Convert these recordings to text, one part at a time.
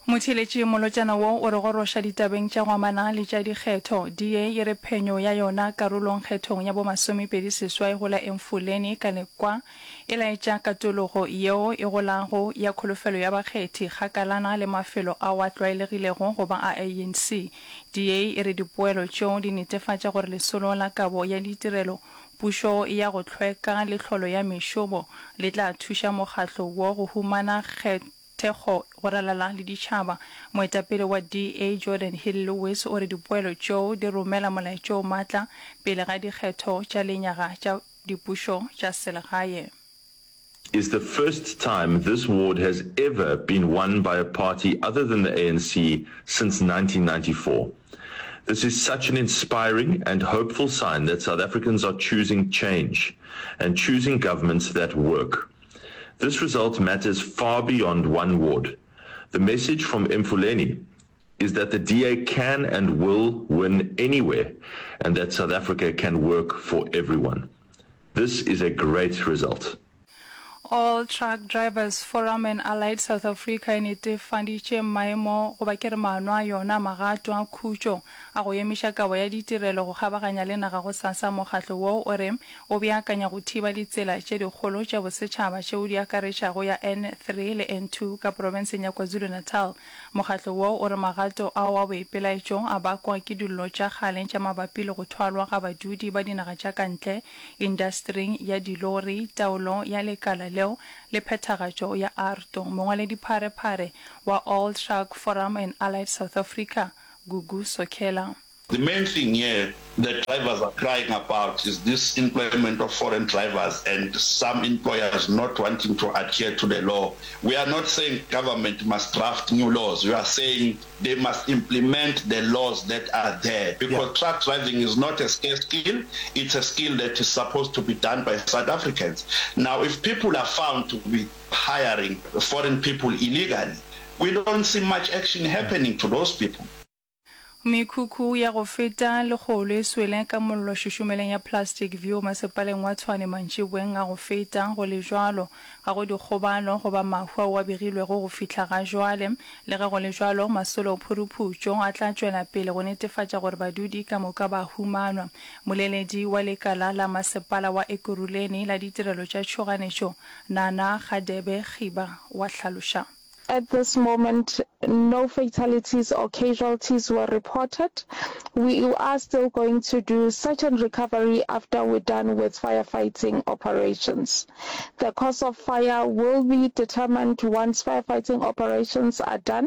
Motheeletši molotšana wo o re goroša ditabeng tša go amana le tša dikgetho. DA e re phenyo ya yona karolong kgethong ya bo 28 go la Emfuleni ka Lekwa e laetša katologo yeo e golago ya kholofelo ya bakgethi kgakalana le mafelo ao a tlwaelegilego go ba a ANC. DA e re dipoelo tšeo di netefatša gore lesolo la kabo ya ditirelo, pušo ya go hlweka le tlholo ya mešomo le tla thuša mokgatlo wo go humana thekgo go ralala le ditšhaba. Moetapele wa DA Geordin Hill-Lewis o re dipoelo tšeo di romela molaetša o matla pele ga dikgetho tša lenyaga tša dipušo tša selegae. Is the first time this ward has ever been won by a party other than the ANC since 1994. This is such an inspiring and hopeful sign that South Africans are choosing change and choosing governments that work. This result matters far beyond one ward. The message from Mfuleni is that the DA can and will win anywhere and that South Africa can work for everyone. This is a great result. All Truck Drivers Forum and Allied South Africa e netefaditše maemo goba ke re maano a yona a magato a khutšo a go emiša kabo ya ditirelo go kgabaganya le naga gosasa. Mokgatlo wo o re o beakanya go thiba ditsela tše dikgolo tša bosetšhaba tšeo di akaretšago ya N3 le N2 ka profenseng ya KwaZulu-Natal. Mokgatlo wo o re magato ao a boipelaetšo a bakwa ke dillo tša kgale tša mabapi le go thwalwa ga badudi ba dinaga tša ka ntle indastering ya dilori, taolo ya lekala leo le phethagatšo ya AARTO. Mongwaledipharephare wa All Truck Forum and Allied South Africa, Gugu Sokhela. The main thing here that drivers are crying about is this employment of foreign drivers and some employers not wanting to adhere to the law. We are not saying government must draft new laws, we are saying they must implement the laws that are there because yeah. truck driving is not a scarce skill, it's a skill that is supposed to be done by South Africans. Now, if people are found to be hiring foreign people illegally, we don't see much action happening to those people. Mekhukhu ya go feta lekgolo e swele ka mollo šušumeleng ya Plastic View masepaleng wa Tshwane mantšiboeng a go feta. Go le bjalo, ga go dikgobalo goba mahu ao a begilwego go fihla ga jwale. Le ge go le bjalo, masolo phuruphutšo a tla tšwela pele go netefatša gore badudi ka moka ba humanwa. Moleledi wa lekala la masepala wa Ekurhuleni la ditirelo tša tšhoganetšo, Nana Kgadebe Khiba wa hlaloša. At this moment, no fatalities or casualties were reported. We are still going to do search and recovery after we're done with firefighting operations. The cause of fire will be determined once firefighting operations are done.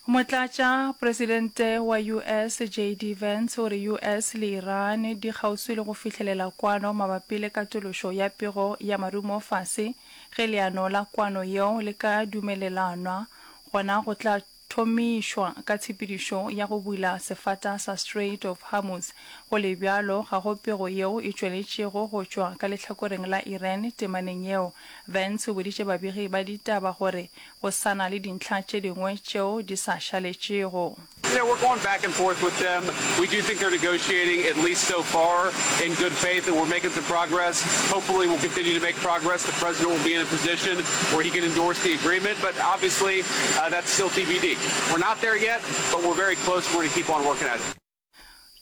Motlatša-presidente wa US JD Vance o re US le Iran di kgauswi le go fihlelela kwano mabapi le katološo ya pego ya marumo fase. Ge leano la kwano yeo le ka dumelelanwa, gona go tla thomišwa ka tshepedišo ya go bula sefata sa Strait of Hormuz. Go le bjalo, ga go pego yeo e tšweletšego go tšwa ka lehlakoreng la Iran temaneng yeo. Vance o boditše babegi ba ditaba gore go sa na le dintlha tše dingwe tšeo di sa šaletšego. You know, we're going back and forth with them. We do think they're negotiating, at least so far, in good faith, and we're making some progress. Hopefully, we'll continue to make progress. The president will be in a position where he can endorse the agreement, but obviously, uh, that's still TBD. We're not there yet, but we're very close. We're going to keep on working at it.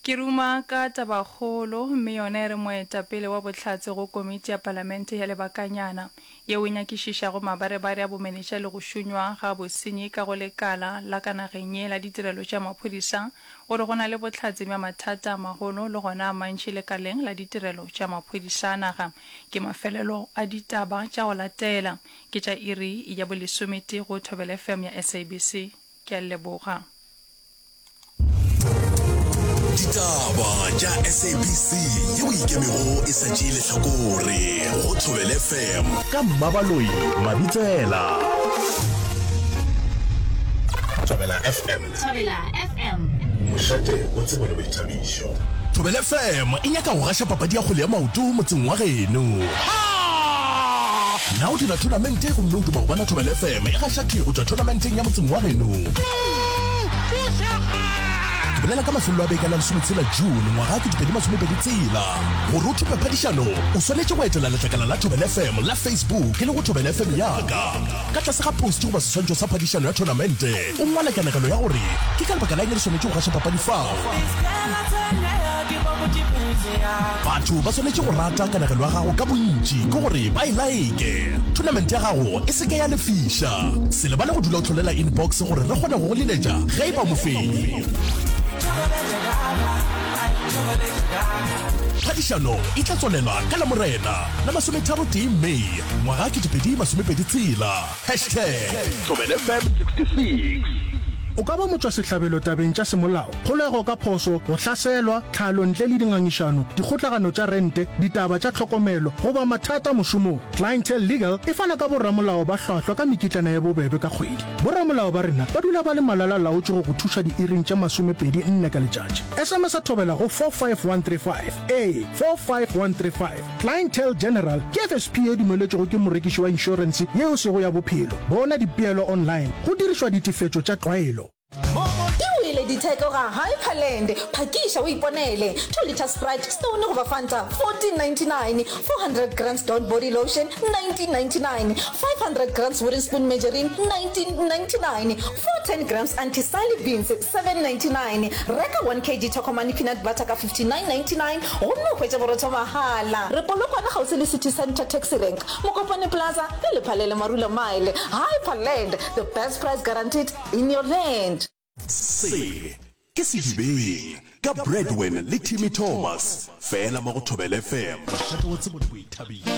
Ke ruma ka tabakgolo, mme yona e re moetapele wa bohlatse go komiti ya palamente ya lebakanyana yeo e nyakišišago mabarebare a bomenetša le go šunywa ga bosenyi ka go lekala la ka nageng ye la ditirelo tša maphodisa o re go na le bohlatse bja mathata a magolo le gona a mantši lekaleng la ditirelo tša maphodisa a naga. Ke mafelelo a ditaba tša go latela ke tša iri ya bolesometee go Thobela FM ya SABC. Ke a leboga. Ditaba tša SABC yeo e ikemego e sa tšee lehlakore go Thobela FM ka Mmabaloi Mabitsela. Thobela FM. Thobela FM. Mošate wa tsebo le boithabišo. Thobela FM e nyaka go gaša papadi ya kgwele ya maoto motseng wa geno. Na o dira thonamente gomme o duma go bona Thobela FM e gaša thwi go tšwa thonamenteng ya motseng wa geno? Ke bolela ka mafelelo a beke a la lesometshela June ngwaga 2026. Gore o thope phadišano, o swanetše go etela letlakala la Thobela FM la Facebook e lego Thobela FM ya ka. Ka tlase ga post goba seswantšho sa phadišano ya thonamente, o ngwale kanegelo ya gore ke ka lebaka la eng re swanetše go gaša papadi fao. Batho ba swanetše go rata kanegelo ya gago ka bontši ke gore ba e laeke. Thonamente ya gago e se ke ya lefiša. Se lebale go dula o hlolela inbox gore re kgone go go leletša ge e ba mofenyi. Phadišano e tla tswalelwa ka Lamorena la masometharotee May ngwaga 2026. Hashtag ThobelaFM 66. O ka ba motšwasehlabelo tabeng tša semolao, kgolego ka phoso, go hlaselwa, tlhalo ntle le dingangišano, dikgotlagano tša rente, ditaba tša tlhokomelo, goba mathata mošomong. Clientele Legal e fana ka boramolao ba hlwahlwa ka mekitlana ye bobebe ka kgwedi. Boramolao ba rena ba dula ba le malala-laotšwe go go thuša diiring tše masomepedi nne ka letšatši. SMS-a Thobela go 45135. Ee, 45135. Clientele General ke FSP ye dumeletšwego ke morekiši wa inšorense ye e sego ya bophelo. Bona dipeelo online go dirišwa ditefetšo tša tlwaelo. Di wele ditheko ga Hyperland, phakiša o iponele. 2 litre Sprite, Stone goba Fanta, 14.99, 400 grams Dawn body lotion, 19.99, 500 grams Wooden Spoon margarine, 19.99, 410 grams Auntie Sally beans, 7.99. Reka 1 kg Tokomane peanut butter ka 59.99 gomme o hwetše borotho mahala. Re Polokwane kgauswi le City Centre Taxi Rank, Mokopane Plaza le Lephalele Marula Mile. Hyperland, the best price guaranteed in your land. Se ke Sedibeng ka Bradwin le Timmy Thomas, fela mo go Thobela FM, mošate wa tsebo le boithabišo.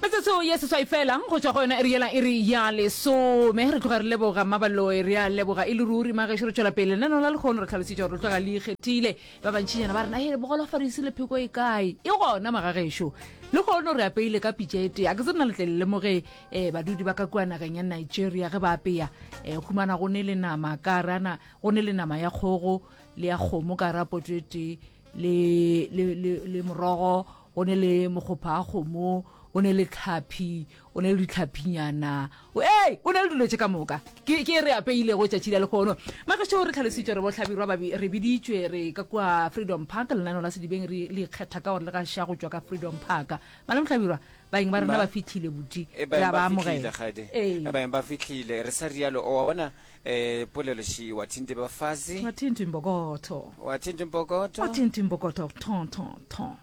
Metsotso ye seswai fela go tšwa go yona iri yela iri ya lesome. Re tloga re leboga Mmabaloi, re a leboga e le ruri. Magešo re tšwela pele lenaneo la lekgono, re hlalositše gore re tloga le ikgethile. Ba bantšinyana ba re na he bogolofarisi le pheko e kae? E gona magagešo. Lekgono re apeile ka pitša e tee. A ke tsebe na le tle le lemoge um badudi ba ka kua nageng ya Nigeria ge ba apea um humana go ne le nama ka rana go ne le nama ya kgogo le ya kgomo ka ra poto e tee le, le, le, le morogo go ne le mokgopha a kgomo o ne le tlhaphi o ne le ditlhaphinyana ee o ne le dilo tše ka moka ke ke re apeilego tšatši la lekgono magešo re tlhalositšwe re bohlabirwa ba re biditšwe re ka kua freedom park lenaneo la sedibeng re le ikgetha ka gore le gaša go tšwa ka freedom park malome hlabirwa Baeng ba rena ba fihlile buti, E, re baeng a ba ba amogela. fihlile kgadi. Ee. E, baeng ba fihlile. Re sa rialo, o wa bona eh, polelo še, wa thinte bafazi. Wa thinte mbokotho. Wa thinte mbokotho. Wa thinte mbokotho, thon thon thon.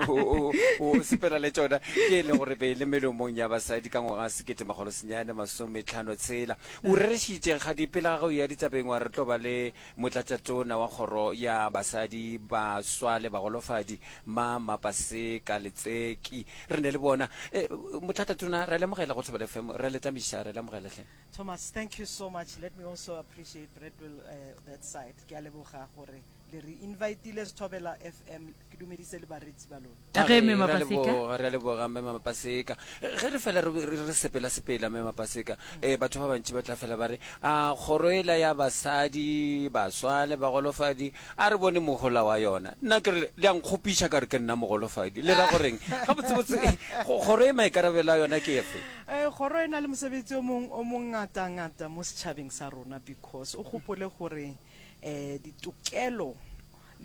O, o, o sepela le tšona ke e le gore be e le melomong ya basadi ka ngwaga 1956. O rerešitše kgadi pele ga ge o ya ditabeng wa re tlo ba le Motlatšatona wa Kgoro ya Basadi, Baswa le Bagolofadi, Ma Mapaseka Letseki. Re ne le bona. Eh, Motlatšatona, re a le amogela go Thobela FM. Re a le tamiša, re a le amogela hle. Thomas, thank you so much. Let me also appreciate Bradwell uh, that side. Ke a leboga gore le re invitile Thobela FM. Ke dumedise le bareetsi ba lona. A ge, Mme Re a Mapaseka. leboga, re a leboga Mme Mapaseka. Ge re fela re, re, re sepela sepela Mme Mapaseka, eh, batho ba bantši ba tla fela ba re, a kgoro ela ya basadi, baswa le bagolofadi, a re bone mohola wa yona. Nna ke re, le a nkgopiša ka re ke nna mogolofadi. Le ra goreng? Gabotsebotse, kgoro e maikarabelo a yona ke efe? Eh, kgoro e na le mosebetsi o mong o mongatangata mo setšhabeng sa rona because o gopole gore eh, ditokelo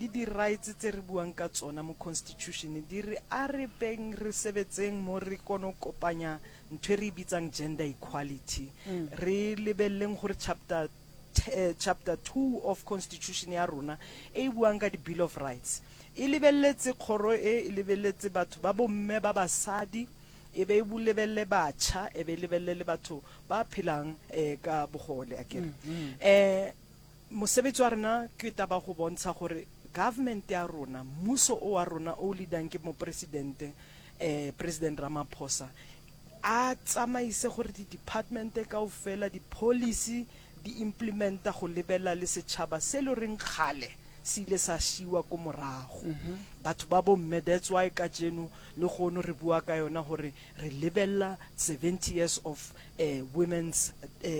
le di-rights tse re buang ka tsona mo constitution di re a re beng re sebetseng mo re kono kopanya ntho e re e bitsang gender equality. Re lebelleng gore chapter chapter 2 of constitution ya rona e e buang ka di-bill of rights e lebelletse kgoro e, e lebelletse batho ba bomme ba basadi, e be e lebelle batjha, e be e lebelle le batho ba phelang ka bogole akere. Mosebetsi wa rena ke taba go bontsha gore government ya rona, mmuso o wa rona o leadang ke mopresidente eh, President Ramaphosa, a tsamaise gore di-department kaofela, di-policy di implementa go lebella le setšhaba se le reng kgale. se ile sa šiwa ko morago. Batho ba bomme, that's why kajeno lehono re bua ka yona gore re lebelela 70 years of women's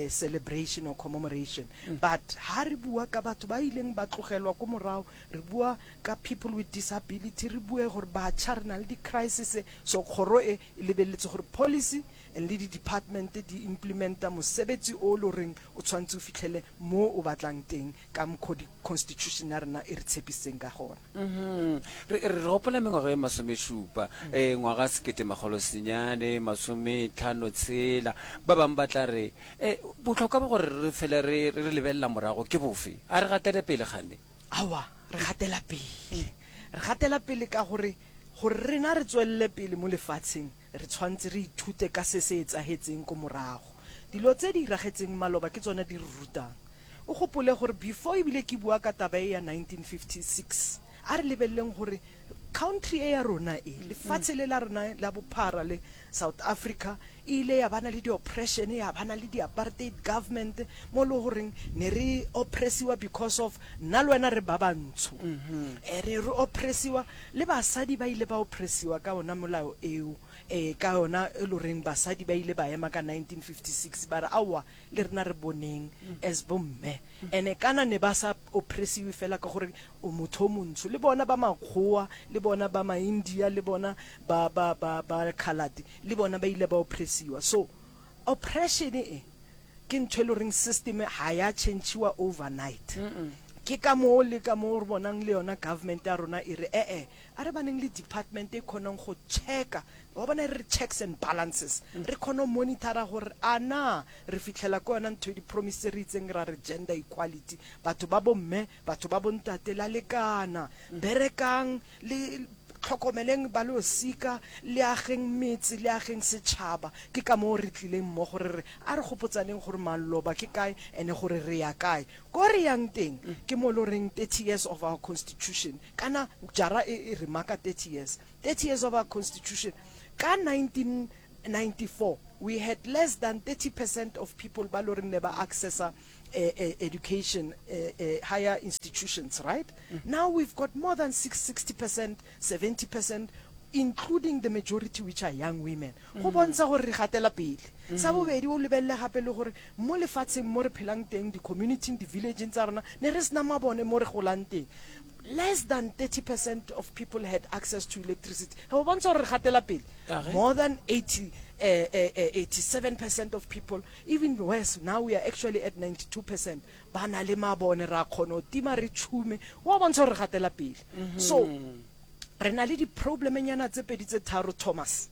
celebration or commemoration. But ha re bua ka batho ba ileng ba tlogelwa ko morago, re bua ka people with disability, re bue gore batjha re na le di-crisis, so kgoro e e lebeletse gore policy and le di-department di implementa mosebetsi o le goreng o tshwanetse o fitlhele mo o batlang teng ka mokgo di-constitution ya rena e re tshepisitseng ka gona. Re, re gopola mengwaga e masomešupa, eh, ngwaga seketemakgolosenyane masometlhano-tshela. Ba bangwe ba tla re, Eh, bohlokwa ba gore re fele re, re lebelela morago ke bofe? A re gatele pele kgane? Aowa, re gatela pele. Re gatela pele ka gore, gore rena re tswelele pele mo lefatsheng, re tshwanetse re ithute ka se se etsahetseng ko morago. Dilo tse di iragetseng maloba ke tsona di re rutang. O gopole gore before ebile ke bua ka taba e ya 1956, a re lebeleleng gore country e ya rona e, lefatshe le la rona la bophara le, South Africa, e ile ya bana le di-oppression, ya bana le di-apartheid government, mo e le goreng ne re oppressiwa because of nna le wena re ba bantsho. Eh, re re oppressiwa, le basadi ba ile ba oppressiwa ka ona molao eo, eh, ka yona e le goreng basadi ba ile ba ema ka 1956 ba re aowa le rena re boneng as bomme. Ene kana ne ba sa oppressiwe fela ka gore o motho o montsho, le bona ba makgowa, le bona ba ma-India, le bona ba, ba, ba, ba coloured, le bona ba ile ba oppressiwa. So oppression e ke ntho e le goreng system ga ya change-iwa overnight. Ke ka moo le ka moo re bonang le yona government ya rona e re e-e, a re baneng le department e kgonang go check-a, wa bona e re checks and balances, re kgone go monitor-a gore a na re fitlhela ko yona ntho e di-promise tse re itseng ra re gender equality, batho ba bomme, batho ba bontate la lekana, berekang le tlhokomeleng ba losika, le ageng metse, le ageng setšhaba. Ke ka moo re tlileng mmogo re re a re gopotsaneng gore maloba ke kae and gore re ya kae. Ko re yang teng ke mo lo reng 30 years of our constitution, kana jara e e re maka 30 years, 30 years of our constitution. Ka 1994 we had less than 30 percent of people ba lo reng ne ba accessa education, higher institutions, right? Now we've got more than 60 percent, 70 percent, including the majority which are young women. Go bontsha gore re gatela pele. Sa bobedi, o lebelele gape le gore mo lefatsheng mo re phelang teng, di-community-ing, di-village-ing tsa rona, ne re sena mabone mo re golang teng. Less than 30 percent of people had access to electricity. Go bontsha gore re gatela pele. More than 80, 87 percent of people, even worse, now we are actually at 92 percent, ba na le mabone, ra kgona go tima re tšhume. Go a bontsha gore re gatela pele. So re na le di-problemenyana tse pedi tse tharo, Thomas.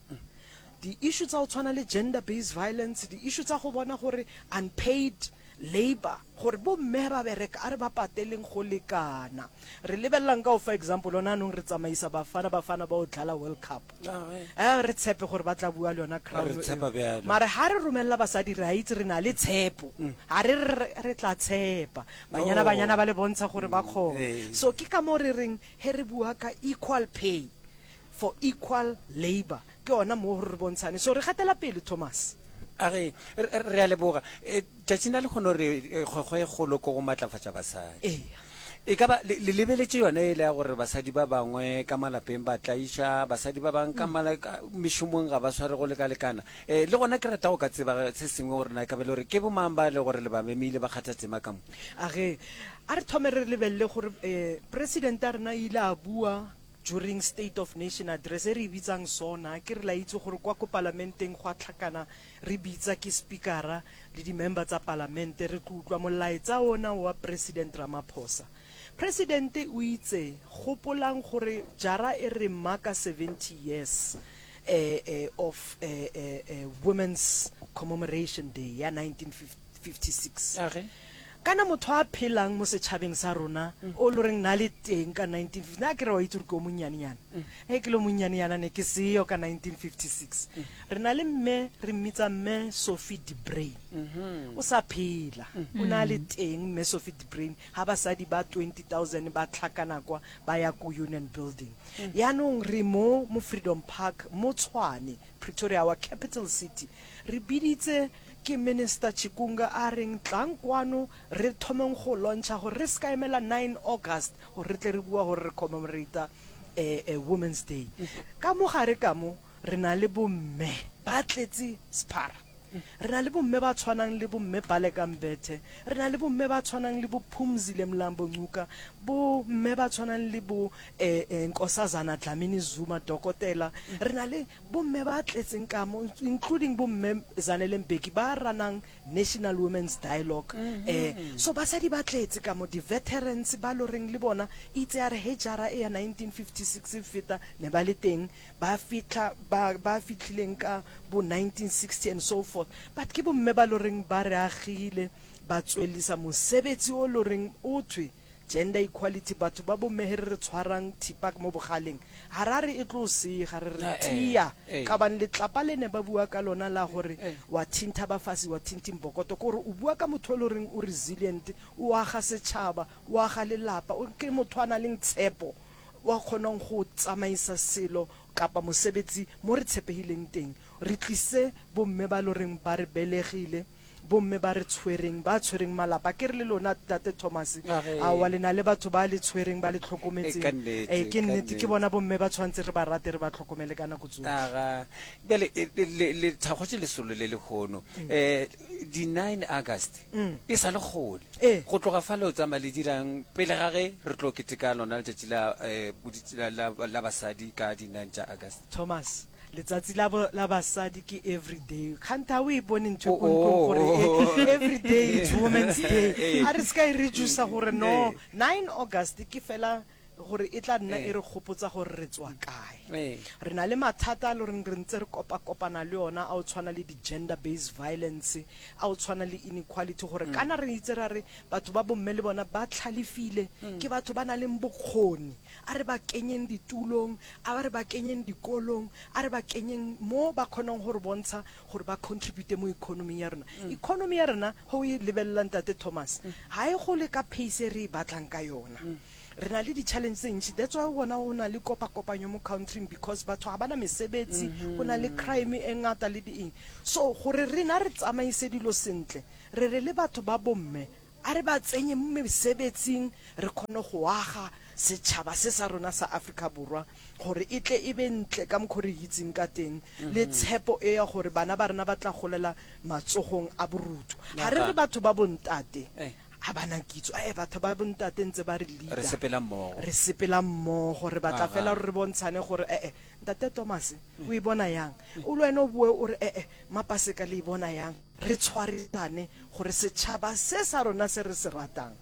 Di-issue tsa go tshwana le gender based violence, di-issue tsa go bona gore unpaid labour, gore bo mme ba bereka a re ba pateleng go lekana. Re lebelelang ka go fa example, gona anong re tsamaisa Bafana Bafana ba o dlala World Cup. Eh, re tshepe gore ba tla bua le yona crown Re tshepa eo. bjalo. Mare ha re romelela basadi re a itse re na le tshepo. Ha re re re tla tshepa. Banyana Oh. banyana ba le bontsha gore ba kgona. Ee. So ke ka moo re reng he re bua ka equal pay for equal labour, ke yona moo gore re bontshane. So re gatela pele, Thomas. A re, re, re a leboga. Eh, tšatšing la lehono re, eh, kgwekgwe e kgolo ke go matlafatša basadi. Eya. E ka ba le, le lebeletše yona e le ya gore basadi ba bangwe ka malapeng ba tlaiša, basadi ba bangwe ka mala, ka mešomong ga ba sware go lekalekana. Eh, le gona ke rata go ka tseba se sengwe gore na e ka ba e le gore ke bomang ba e le gore le ba memile ba kgatha tema ka mo. A re, a re thome re lebelele gore, eh, President ya rena e ile a bua during State of Nation Address e re e bitsang SONA, ke re la itse gore kwa ko Palamenteng gwa tlhakana re bitsa ke Speaker-a le di-member tsa Palamente re tlo utlwa molaetsa ona wa President Ramaphosa. President o itse, gopolang gore jara e re marka 70 years eh, eh, of eh, eh, eh, Women's Commemoration Day ya 1956. Age. Kana motho a phelang mo setšhabeng sa rona o lo reng na le teng ka 1950, na ke re wa itse gore ke o monnyanenyana. Ge ke le o monnyanenyana ne ke seyo ka 1956. Re na le mme re mmitsa mme Sophie de Bruyn. O sa phela. O ne a le teng mme Sophie de Bruyn ha basadi ba 20,000 ba tlhakana kwa ba ya ko Union Building. Yaanong re mo mo Freedom Park mo Tshwane. Pretoria, our capital city. Re biditse ke Minister Chikunga a reng tlang kwano re thomeng go launcha gore re se ka emela 9 August gore re tle re bua gore re commemorate Women's Day. Ka mo gare ka mo re na le bomme ba tletse sephara. Re na le bomme ba tshwanang le bomme Baleka Mbethe, re na le bomme ba tshwanang le bo Phumzile Mlambo Ngcuka, bo mme ba tshwanang le bo Nkosazana Dlamini Zuma, Dokotela. Re na le bomme ba tletseng ka mo, including bomme Zanele Mbeki ba runang National Women's Dialogue. So basadi ba tletse ka mo, di-veterans ba loreng le bona itse ya re he jara e ya 1956 e feta ne ba le teng, ba fihla ba ba fihlileng ka bo 1960 and so forth but ke bomme ba loreng ba re agile ba tswellisa mosebetsi o loreng o thwe gender equality batho ba bomme he re re tshwarang thipa mo bogaleng ga ra re e tlo sega re re tia ka bane letlapa le ne ba bua ka lona la gore wa thintha bafasi wa thinthi mbokoto ke gore o bua ka motho o loreng o resilient o aga setšhaba o aga lelapa o ke motho a na leng tshepo wa kgonang go tsamaisa selo kapa mosebetsi mo re tshepegileng teng. Re tlise bomme ba loreng ba re belegile, bomme ba re tshwereng, ba tshwereng malapa. Ke re le lona Ntate Thomas, aowa le na le batho ba le tshwereng, ba le tlhokometseng. Ee, ke nnete, ke bona bomme ba tshwanetse re ba rate, re ba tlhokomele ka nako tsotlhe. Aga, bjale le, le thakgotše lesolo le lehono. Um, di 9 August, E sa le kgole. Go tloga fale o tsamaya le dirang pele ga ge re tlo keteka lona letšatši la, eh, la, la, la basadi ka di 9 tša August? Thomas, Letsatsi la, la basadi ke everyday. Kganthe ga o e bone ntho e ko ntlong gore e, everyday it's women's day. A re se ka e reducer gore no, 9 August ke fela gore e tla nna e re gopotsa gore re tswa kae. Re na le mathata a le goreng re ntse re kopa-kopana le ona a o tshwana le di-gender based violence, a o tshwana le inequality gore kana re itse ra re batho ba bomme le bona ba tlhalefile, ke batho ba na leng bokgoni, a re ba kenyeng ditulong, a re ba kenyeng dikolong, a re ba kenyeng mo ba kgonang go re bontsha gore ba contribute mo economy ya rena. Economy ya rena ge o e lebelela Ntate Thomas, ga e gole ka pace e re e batlang ka yona. Re na le di-challenge tse ntši, that's why o bona go na le kopakopanyo mo country-ing because batho ga ba na mesebetsi, go na le crime e ngata le di eng. So gore rena re tsamaise dilo sentle, re re le batho ba bomme a re ba tsenye mo mesebetsing re kgone go aga setšhaba se sa rona sa Afrika Borwa gore e tle e be ntle ka mokgo re itseng ka teng le tshepo e ya gore bana ba rena ba tla golela matsogong a borutho. Ga re re batho ba bontate Ga ba na kitso. Ee, batho ba bontate ntse ba re leader. Re sepela mmogo. Re sepela mmogo. Re batla fela gore re bontshane gore ee, Ntate Thomas, o e bona yang? O le wena o boe o re ee, Mapaseka le e bona yang? Re tshwarisane gore setšhaba se sa rona se re se ratang,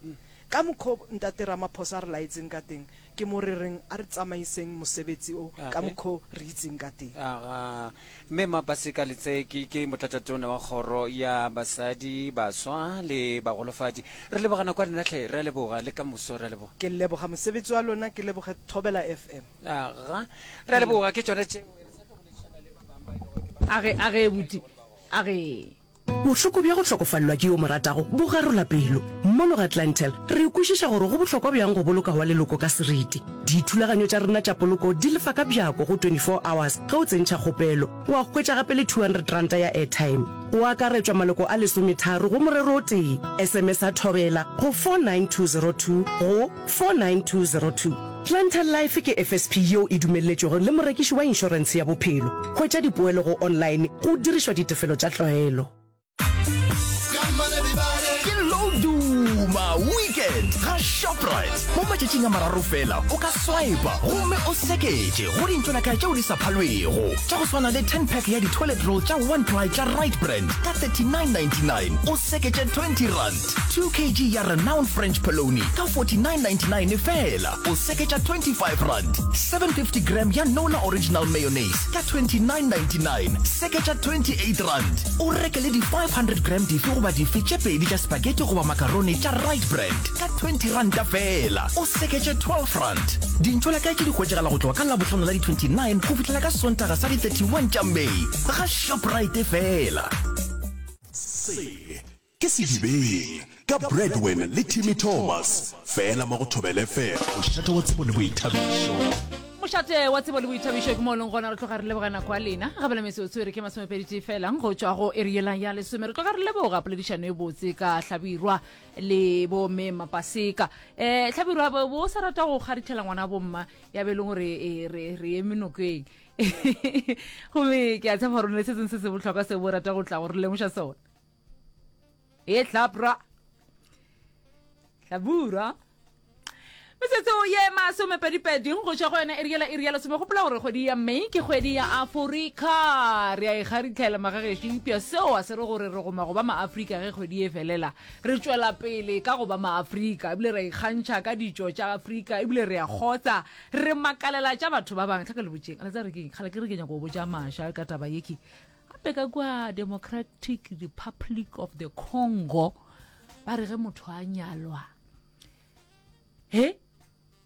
ka mokgwa o Ntate Ramaphosa a re laetseng ka teng, Ke mo re reng a re tsamaiseng mosebetsi o ka mokgwa o re itseng ka teng. Aga. Mme Mapaseka Letseki ke Motlatšatona wa Kgoro ya Basadi, Baswa le Bagolofadi. Re leboga nako ya lena hle, re a leboga, le ka moso re a leboga. Ke leboga mosebetsi wa lona, ke leboge Thobela FM. Aga. Re a leboga, ke tšona tšeo. Re sa tlo boledišana le ba bangwe ba e lego ke ba. Age, age, buti, age. Bohloko bja go hlokofalelwa ke yo mo ratago bo garola pelo. Mono ga Clientele, re kwešiša gore go bohlokwa bjang go boloka wa leloko ka seriti. Dithulaganyo tša rena tša poloko di lefa ka bjako go 24 hours ge o tsentšha kgopelo. Wa hwetša gape le R200 ya airtime. Go akaretšwa maloko a lesometharo go morero o tee. SMS-a Thobela go 49202 go 49202. Clientele Life ke FSP yeo e dumelletšwego le morekiši wa inšorentshe ya bophelo. Hwetša dipoelo go online go dirišwa ditefelo tša tlwaelo. Ke Loduma Weekend ga Shoprite. Mo matšatšing a mararo fela o ka swipa gomme o seketše go dintšolakae tšeo di sa phalwego tša go swana le 10 pack ya di-toilet roll tša one ply tša Right Brand ka 39.99 o seketše R20. 2 kg ya Renown French Polony ka 49.99 feela, o seketša R25. 750 gram ya Nola Original Mayonnaise ka 29.99, seketša R28. O reke le di 500 gram dife goba dife tše pedi tša spaghetti goba macaroni tša Right Brand ka R20 feela, o seketše R12. Dintšolakae tše di hwetšagala go tloga ka Labohlano la di 29 go fihlela ka Sontaga sa di 31 tša May ga Shoprite feela. Se Ke Sedibeng ka Bradwin le Timmy Thomas, fela mo go Thobela FM, mošate wa tsebo le boithabišo. Mošate wa tsebo le boithabišo ke mo leng gona re tloga re leboga nako ya lena gabela metsotso e re ke masomepedi fela go tšwa go iri yela ya lesome re tloga re leboga poledišano e botse ka hlabirwa le bo mme mapaseka um hlabirwa bo bo sa rata go kgarithela ngwana bomma ya be e leng gore eh, re re eme nokeng gomme ke a tshepa gore o ne le se sengwe se se bohlokwa seo bo rata go tla go re lemoša sona e hlabra hlabura metsotso ye masomepedipedi go tšwa go yona iri yela iri ya lesome gopola gore kgwedi ya may ke kgwedi ya aforika re a e kgaritlhela magagešo eupša seo a se re gore re goma go ba maafrika ge kgwedi e felela re tšwela pele ka go ba maafrika ebile re ikgantšha ka ditšo tša afrika ebile re a kgotsa re makalela tša batho ba bangwe tlhaka le botšeng a tsa re keng kgale ke re ke nyako go botša maša ka taba ye ke Gape ka kua Democratic Republic of the Congo ba re ge motho a nyalwa he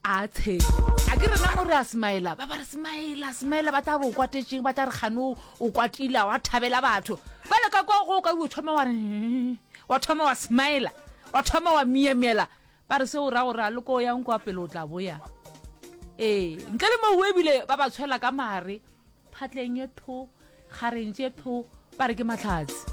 a tshele a ke rena gore a smaela ba ba re smaela smaela ba tla re o kwatetšeng ba tla re kgane o kwatile wa thabela batho ba le ka kwa go ka o thoma wa re wa thoma wa smaela wa thoma wa miemiela ba re seo ra gore a le ko yang kwa pele o tla boya ee ntle le moo ebile ba ba tshwela ka mare Phatleng ye tho, kgareng tše tho, ba re ke mahlatse.